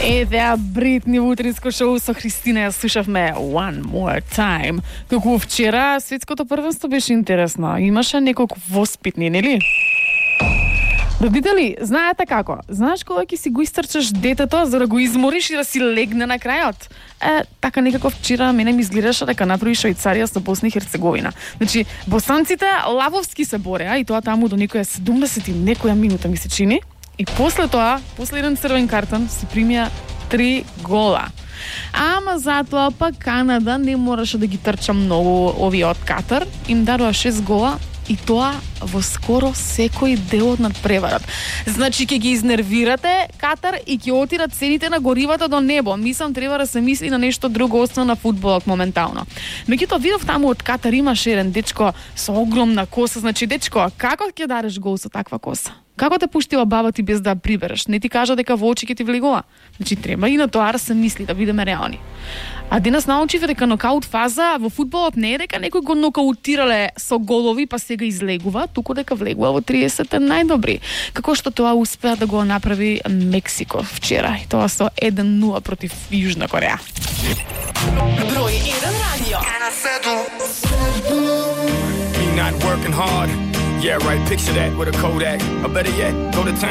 Еве Бритни во утринско шоу со Христина ја слушавме One More Time. Како вчера светското првенство беше интересно. Имаше неколку воспитни, нели? Родители, знаете како? Знаеш кога ќе си го истрчаш детето за да го измориш и да си легне на крајот? Така некако вчера мене ми изгледаше дека направи Швајцарија со Босна и Херцеговина. Значи, босанците лавовски се бореа и тоа таму до некоја 70 и некоја минута ми се чини. И после тоа, после еден црвен картон, се примија 3 гола. Ама затоа пак Канада не мораше да ги трча многу овие од Катар. Им дадоа 6 гола и тоа во скоро секој дел од надпреварот. Значи ќе ги изнервирате Катар и ќе отидат цените на горивото до небо. Мислам треба да се мисли на нешто друго освен на фудбалот моментално. Меѓутоа видов таму од Катар имаше еден дечко со огромна коса. Значи дечко, како ќе дадеш гол со таква коса? Како те пуштила баба ти без да прибереш? Не ти кажа дека во очи ќе ти влегува? Значи треба и на тоа да се мисли, да бидеме реални. А денес научиве дека нокаут фаза во фудбалот не е дека некој го нокаутирале со голови па сега излегува, туку дека влегува во 30 најдобри. Како што тоа успеа да го направи Мексико вчера, и тоа со 1-0 против Јужна Кореја. Број 1 радио. Not working hard. Yeah, right, picture that with a Kodak. Or better yet, go to town.